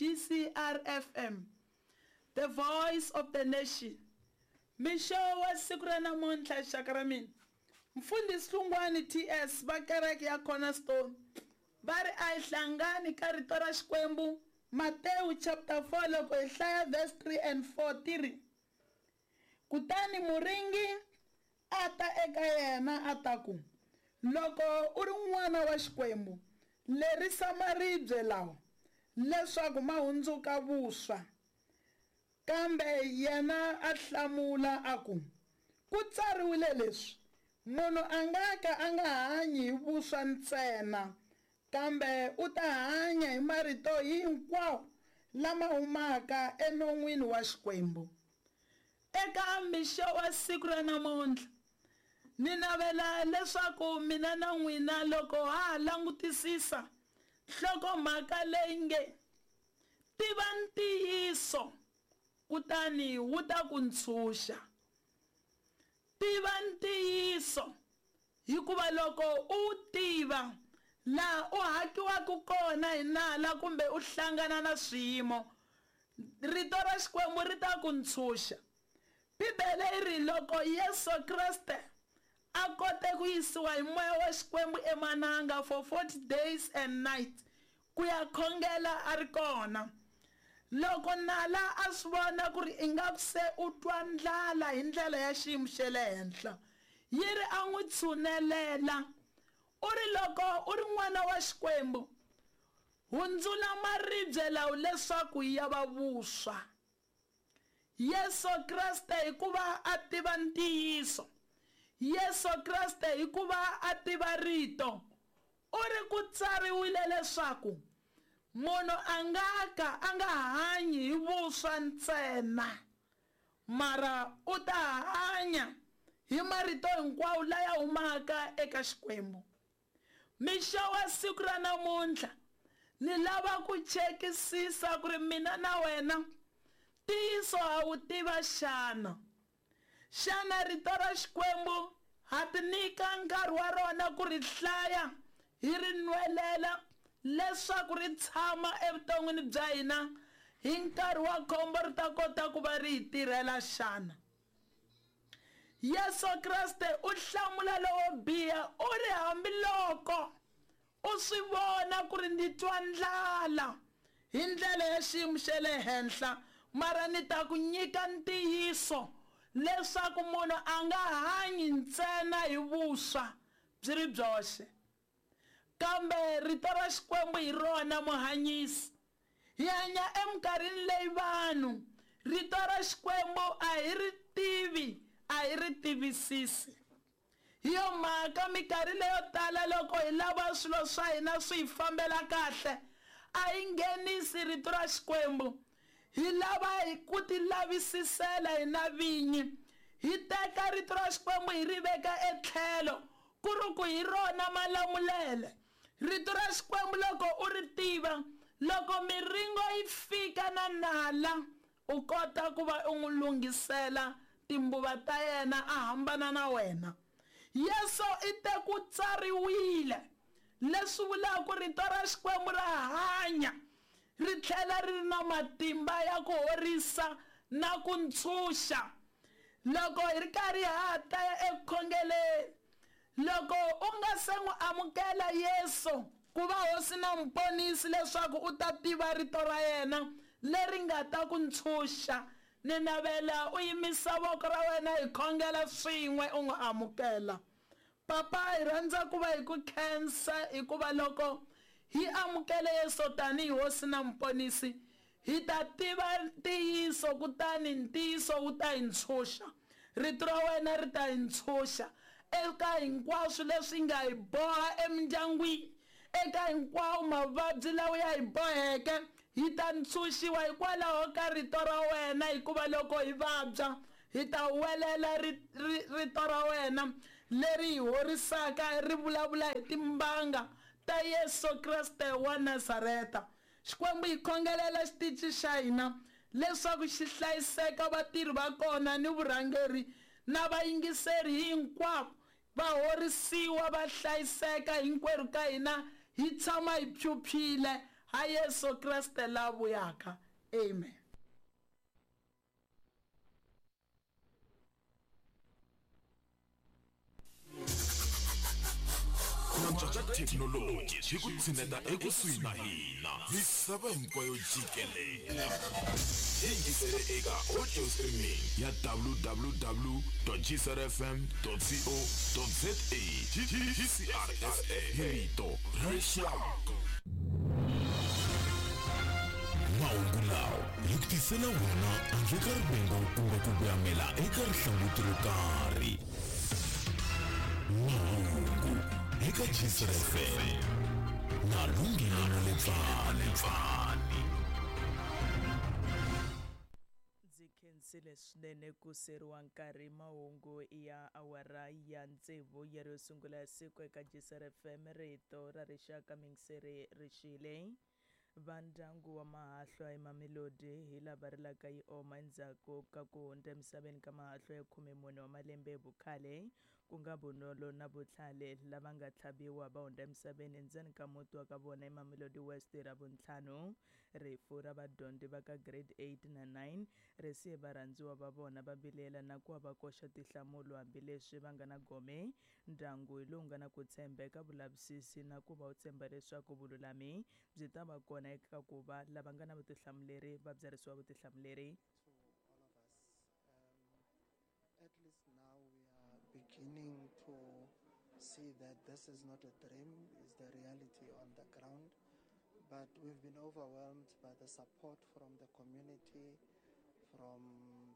GCR FM, the voice of the nation. Mixo wa siku ra namuntlha xaka ra mina. Mfundhisi Hlungwani TS va kereke ya Cornerstone va ri a hi hlangani ka rito ra Xikwembu Matewu chapter 4 loko hi hlaya verse 3 and 4 ti ri Kutani muringi a ta eka yena a ta ku, Loko u ri n'wana wa Xikwembu, lerisa maribye lawa leswaku ma hundzuka vuswa. Kambe yena a hlamula a ku, Ku tsariwile leswi, Munhu a nga ka a nga hanyi hi vuswa ntsena, kambe u ta hanya hi marito hinkwawo lama humaka enon'wini wa Xikwembu. Eka mixo wa siku ra namuntlha, ni navela leswaku mina na n'wina loko ha ha langutisisa nhlokomhaka leyi nge, Tiva Ntiyiso Kutani Wu Ta Ku Ntshunxa. Tiva ntiyiso, hikuva loko u wu tiva, laha u hakiwaka kona hi nala kumbe u hlangana na swiyimo, Rito ra Xikwembu ri ta ku ntshunxa. Bibele yi ri, Loko Yesu Kreste a kote ku yisiwa hi moya wa Xikwembu emananga for 40 days and night ku ya khongela a ri kona, loko nala a swi vona ku ri ingaku se u twa ndlala hi ndlela ya xiyimo xa le henhla, yi ri a n'wi tshunelela. U ri, Loko u ri n'wana wa Xikwembu, hundzula maribye lawa leswaku ya va vuswa. Yesu Kreste hikuva a tiva ntiyiso. Yesu Kreste hikuva a tiva Rito. U ri ku tsariwile leswaku munhu a nga ka a nga hanyi hi vuswa ntsena, mara u ta hanya hi marito hinkwawo laya humaka eka Xikwembu. Mixo wa siku ra namuntlha, ni lava ku chekisisa ku ri mina na wena ntiyiso ha wu tiva xana? Xana Rito ra Xikwembu ha tinyika nkarhi wa rona ku ri hlaya, hi ri nwelela, leswaku ri tshama evuton'wini bya hina hi nkarhi wa khombo ri ta kota ku va ri hi tirhela xana? Yesu Kreste u hlamula lowo biha u ri, Hambiloko u swi vona ku ri ndzi twa ndlala hi ndlela ya xiyimo xa le henhla, mara ni ta ku nyika ntiyiso leswaku munhu a nga hanyi ntsena hi vuswa byi ri byoxe, kambe Rito ra Xikwembu hi rona muhanyisi. Hi hanya eminkarhini leyi vanhu Rito ra Xikwembu a hi ri tivi, a hi ri tivisisi. Hi yo mhaka minkarhi leyo tala loko hi lava swilo swa hina swi hi fambela kahle, a hi nghenisi Rito ra Xikwembu. Hi lava ku tilavisisela hina vinyi. Hi teka Rito ra Xikwembu hi ri veka etlhelo, ku ri ku hi rona malamulele. Rito ra Xikwembu loko u ri tiva, loko miringo yi fika na nala, u kota ku va u n'wi lunghisela timbuva ta yena a hambana na wena. Yesu i te ku tsariwile, leswi vulaka ku Rito ra Xikwembu ra hanya ri tlhela ri ri na matimba ya ku horisa na ku ntshunxa. Loko hi ri karhi ha ha ta ya eku khongeleni, loko u nga se n'wi amukela Yesu ku va Hosi na Muponisi leswaku u ta tiva Rito ra yena leri nga ta ku ntshunxa, ni navela u yimisa voko ra wena hi khongela swin'we u n'wi amukela. Papa, hi rhandza ku va hi ku khensa hikuva loko hi amukele Yesu tanihi Hosi na Muponisi, hi ta tiva ntiyiso kutani ntiyiso wu ta hi ntshunxa. Rito ra wena ri ta hi ntshunxa eka hinkwaswo leswi nga hi boha emindyangwini, eka hinkwawo mavabyi lawa ya hi boheke. Hi ta ntshunxiwa hikwalaho ka Rito ra wena, hikuva loko hi vabya, hi ta huwelela ri, ri, Rito ra wena leri hi horisaka, ri vulavula hi timbanga ta Yesu Kreste wa Nazareta. Xikwembu, hi khongelela xitichi xa hina leswaku xi hlayiseka, vatirhi va kona ni vurhangeri na vayingiseri hinkwavo va horisiwa, va hlayiseka, hinkwerhu ka hina hi tshama hi phyuphyile. Ha Yesu Kreste la vuyaka. Amen. Ku antswa ka thekinoloji swi ku tshineta ekusuhi na hina misava hinkwayo jikelele. Yingisele eka audio streaming ya www.gcrfm.co.za GCRFM hi rito ra rixaka. Mahungu lawa hi ku tisela wona handle ka rivengo kumbe ku voyamela eka rihlanguti ro karhi. Mahungu eka Gcr FM na Lungile Maletsani. Ndzi khensile swinene ku seriwa nkarhi mahungu ya awara ya tsevu ya ro sungula ya siku eka Gcr FM rito ra rixaka mingiseri rixile. Va ndyangu wa Mahahlwa eMamelodi hi lava rilaka yi oma endzhaku ka ku hundza emisaveni ka Mahahlwa ya 14 wa malembe hi vukhale, ku nga Bonolo na Botlhale lava nga tlhaviwa va hundza emisaveni endzeni ka muti wa ka vona eMamelodi West hi Ravuntlhanu. Rifu ra vadyondzi va ka Grade 8 na 9 ri siye varhandziwa va vona va vilela na ku va va koxa tinhlamulo hambileswi va nga na gome. Ndyangu hi lowu nga na ku tshemba eka vulavisisi na ku va wu tshemba leswaku vululami byi ta va kona eka ku va lava nga na vutihlamuleri va byarhisiwa vutihlamuleri. To all of us, at least now we are beginning to see that this is not a dream, it's the reality on the ground. But we've been overwhelmed by the support from the community, from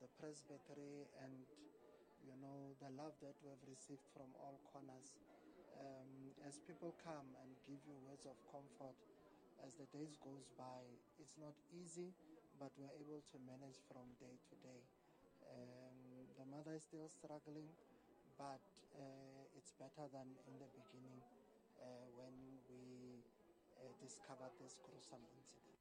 the presbytery, and the love that we have received from all corners. As people come and give you words of comfort, as the days goes by, it's not easy, but we're able to manage from day to day. The mother is still struggling, but it's better than in the beginning when we discovered this gruesome incident.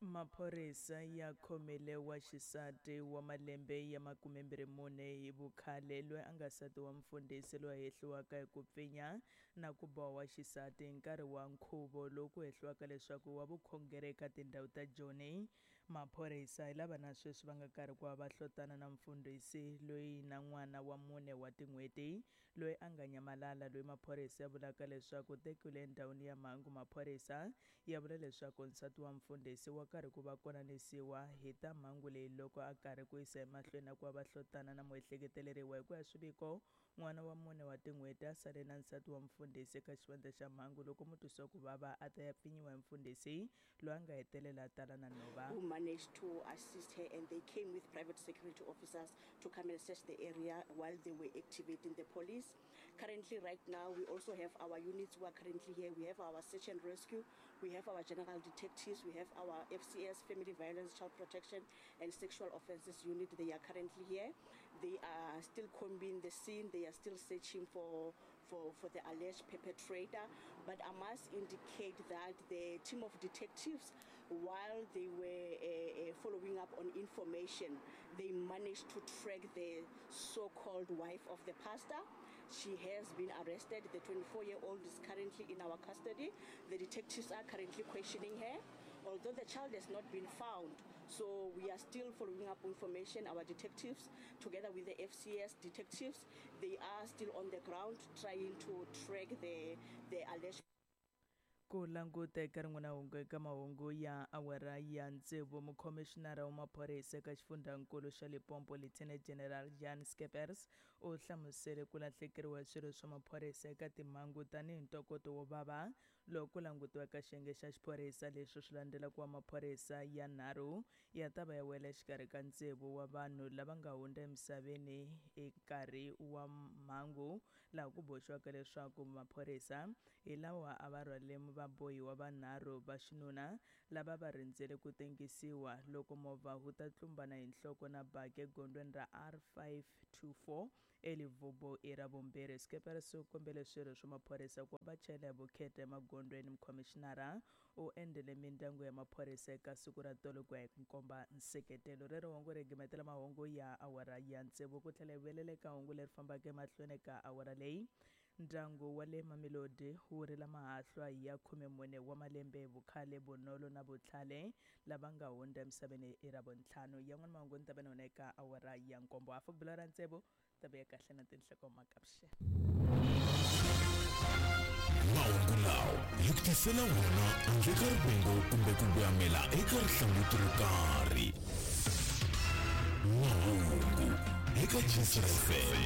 Maphorisa ya khomile wa xisati wa malembe ya 24 hi vukhale loyi a nga nsati wa mufundhisi loyi a hehliwaka hi ku pfinya na ku boha wa xisati hi nkarhi wa nkhuvo lowu ku hehliwaka leswaku wa vukhongeri eka tindhawu ta Joni. Maphorisa hi lava na sweswi va nga karhi ku va va hlotana na mufundhisi loyi na n'wana wa 4 wa tin'hweti loyi a nga nyamalala, loyi maphorisa ya vulaka leswaku tekiwile endhawini ya mhangu. Maphorisa ya vula leswaku nsati wa mufundhisi wa karhi ku va konanisiwa hi ta mhangu leyi loko a karhi ku yisa emahlweni na ku va va hlotana na muehleketeleriwa. Hi ku ya swiviko, n'wana wa 4 wa tin'hweti a sale na nsati wa mufundhisi eka xivandla xa mhangu loko mutwisiwa ku vava a ta ya pfinyiwa hi mufundhisi loyi a nga hetelela a tala na nhova. Who managed to assist her, and they came with private security officers to come and search the area while they were activating the police. Currently, right now, we also have our units who are currently here. We have our search and rescue, we have our general detectives, we have our FCS, Family Violence, Child Protection and Sexual Offences Unit. They are currently here. They are still combing the scene. They are still searching for the alleged perpetrator. But I must indicate that the team of detectives, while they were following up on information, they managed to track the so-called wife of the pastor. She has been arrested. The 24-year-old is currently in our custody. The detectives are currently questioning her, although the child has not been found. So we are still following up information. Our detectives, together with the FCS detectives, they are still on the ground trying to track the alleged. Ku languta eka rin'wana hungu eka mahungu ya awara ya tsevu, mukhomixinara wa maphorisa eka xifundzankulu xa Limpopo Lieutenant General Jan Skeepers u hlamusele ku lahlekeriwa hi swirho swa maphorisa eka timhangu tanihi ntokoto wo vava loko ku langutiwa ka xiyenge xa xiphorisa. Leswi swi landzela ku va maphorisa ya 3 ya ta va ya wela exikarhi ka tsevu wa vanhu lava nga hundza emisaveni hi nkarhi wa mhangu, laha ku boxiwaka leswaku maphorisa hi lawa a va rhwale vabohiwa vanharhu va xinuna lava va rindzele ku tengisiwa loko movha wu ta tlumbana hi nhloko na baki egondweni ra R524 eLevubu i ra vumbirhi. Skeepers u kombele swirho swa maphorisa ku va chayela hi vukheta emagondzweni. Mukhomixinara u endzele mindyangu ya maphorisa eka siku ra tolo ku ya hi komba nseketelo. Rero hungu ri gimetela mahungu ya awara ya tsevu ku tlhela hi vuyelela eka hungu leri fambaka emahlweni eka awara leyi. Ndyangu wa le Mamelodi wu rila mahahlwa ya 14 wa malembe hi vukhale, Bonolo na Botlhale, lava nga hundza emisaveni hi Ravuntlhanu. Yan'wana mahungu ni ta va na wona eka awara ya nkombo. Hafu ku bela ra tsevu, ta vuya kahle na tinhlokomhaka. Vuxeni. Mahungu lawa hi ku tisela wona handle ka rivengo kumbe ku voyamela eka rihlanguti ro karhi. Mahungu eka Gcina FM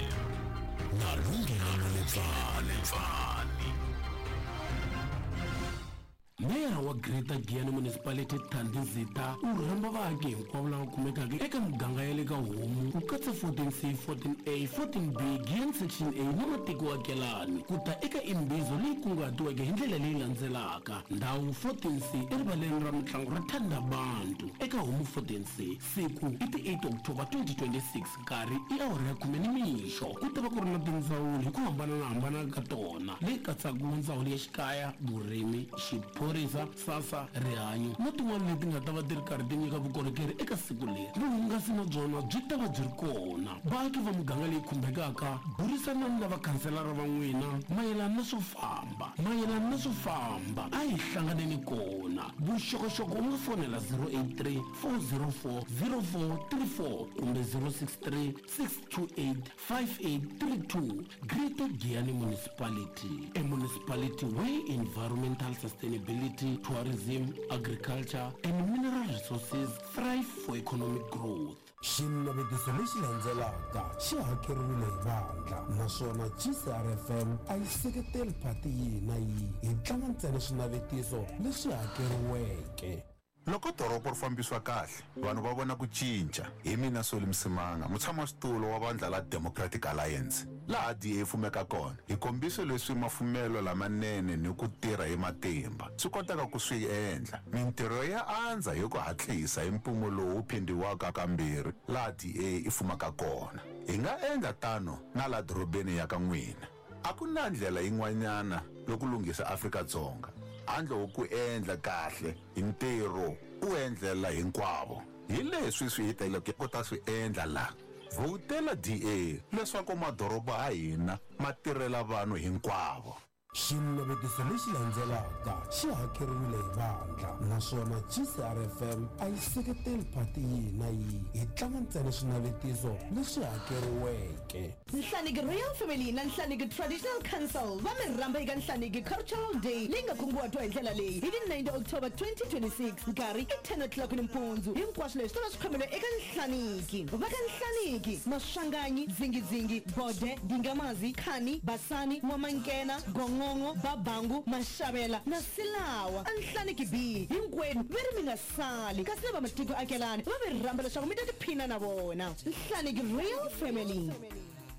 na Lunghelo Maletsani. Meyara wa Greater Giyani Municipality Thandi Zitha u rhamba vaaki hinkwavo lava kumekaka eka miganga ya le ka Homu ku katsa 14C, 14A, 14B, Giyani Section A na matikoakelani ku ta eka imbizo leyi kunguhatiweke hi ndlela leyi landzelaka, Ndhawu 14C erivaleni ra mitlangu ra Thandabantu eka Homu 14C, Siku i ti 8 October 2026, nkarhi i awara ya khume nimixo. Ku ta va ku ri na tindzawulo hi ku hambanana-hambana ka tona, leyi katsaka Ndzawulo ya Xikaya, Vurimi, Xiphorisa, SASSA, Rihanyo na tin'wana leti nga ta va ti ri karhi ti nyika vukorhokeri eka siku leri. Vuhungasi na byona byi ta va byi ri kona. Vaaki va muganga leyi khumbekaka, burisanani na vakhanselara va n'wina mayelana na swo famba. Mayelana na swo famba, a hi hlanganeni kona. Vuxokoxoko u nga fonela 083 404 0434 kumbe 063 628 5832. Greater Giyani Municipality, a municipality where environmental sustainability, tourism, agriculture and mineral resources thrive for economic growth. Xinavetiso lexi landzelaka xi hakeriwile hi vandla naswona GCRFM a yi seketeli phati yihi na yihi. Hi tlanga ntsena swinavetiso leswi hakeriweke. Loko doropo ri fambisiwa kahle, vanhu va vona ku cinca. Hi mina Solly Msimanga, mutshamaxitulu wa vandla la Democratic Alliance. Laha DA yi fumeka kona, hi kombise leswi mafumelo lamanene ni ku tirha hi matimba swi kotaka ku swi endla. Mintirho ya andza hi ku hatlisa hi mpimo lowu phindhiwaka kambirhi laha DA yi fumaka kona. Hi nga endla tano na la dorobeni ya ka n'wina. A ku na ndlela yin'wanyana yo ku lunghisa Afrika-Dzonga handle ko ku endla kahle hi ntirho u endlela hinkwavo. Hi leswi swi hi teleke ku ta swi endla la. Vhotela DA leswaku madoroba a hina ma tirhela vanhu hinkwavo. Xinavetiso lexi landzelaka xi hakeriwile hi vandla naswona GCRFM a yi seketeli phati yihi na yihi. Hi tlanga ntsena swinavetiso leswi hakeriweke. Nhlaniki Royal Family na Nhlaniki Traditional Council va mi rhamba eka Nhlaniki Cultural Day leyi nga kunguhatiwa hi ndlela leyi hi ti 90 October 2026 nkarhi i 10 o'clock nimpundzu. Hinkwaswo leswi swi ta va swi khomeriwe eka Nhlaniki. Va ka Nhlaniki, Maswanganyi, Dzingidzingi, Bode, Dingamazi, Khani, Basani, N'wamankena, Gongongo, Babangu, Maxavela na Silawa. A Nhlaniki B, hinkwenu ve ri mi nga sali kasi na vamatiko akelani va mi rhamba leswaku mi ta tiphina na vona. Nhlaniki Royal Family.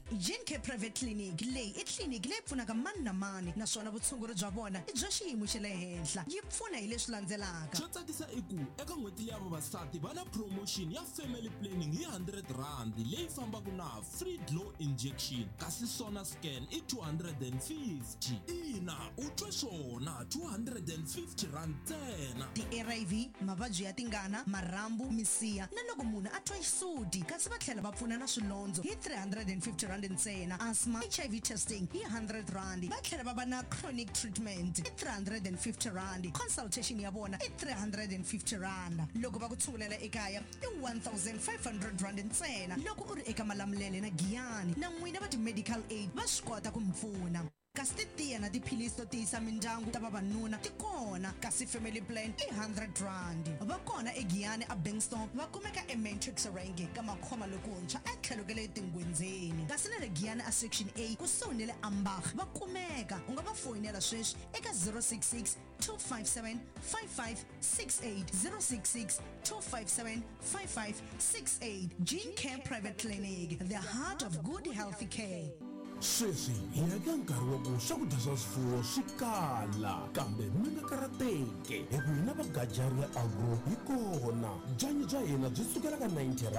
Gene Care Private Clinic leyi i tliliniki leyi pfunaka mani na mani naswona vutshunguri bya vona i bya xiyimo xa le henhla. Yi pfuna hi leswi landzelaka. Xo tsakisa i ku eka n'hweti leya vavasati va na promotion ya family planning hi R100 leyi fambaka na free glow injection kasi sona scan i 250. Ina, u twe swona, R250 ntsena. Ti-ARV, mavabyi ya tingana, marhambu, misiha na loko munhu a twa xisuti kasi va tlhela va pfuna na swilondzo hi R350 ntsena, asthma, HIV testing hi R100, va tlhela va va na chronic treatment i R350, consultation ya vona i R350, loko va ku tshungulela ekaya i R1500 ntsena loko u ri eka Malamulele na Giyani na n'wina va ti-medical aid va swi kota ku mi pfuna. Kasi titiya na tiphilisi to tiyisa mindyangu ta vavanuna ti kona kasi family plan i R100. Va kona eGiyani a Bengstone va kumeka eMatrix Rank ka Makhoma lokuntshwa etlhelo ka le Tingwendzeni. Kasi na le Giyani a Section A kusuhi ni le Ambach va kumeka. U nga va foyinela sweswi eka 066 257 5568, 066 257 5568. Gene Care Private Clinic, the heart of good healthy care. Sweswi hi ya eka nkarhi wa ku swakudya swa swifuwo swi kala, kambe mi nga karhateki hi ku hina va Gajaria Agro hi kona. Byanyi bya hina byi sukela ka R90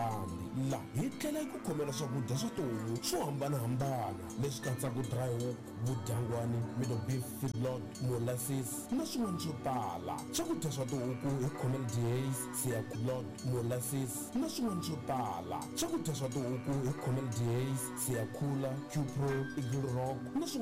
la hi tlhela hi ku khomela swakudya swa tihomu swo hambanahambana leswi katsaka dry hook, vudyangwani, middle beef feedlot, molasses na swin'wana swo tala. Swakudya swa tihuku hi khomela dehaze, siyakulot, molasses na swin'wana swo tala. Swakudya swa tihuku hi khomela dehaze, siyakhula, Qpro, Eagle Rock na swin'wana.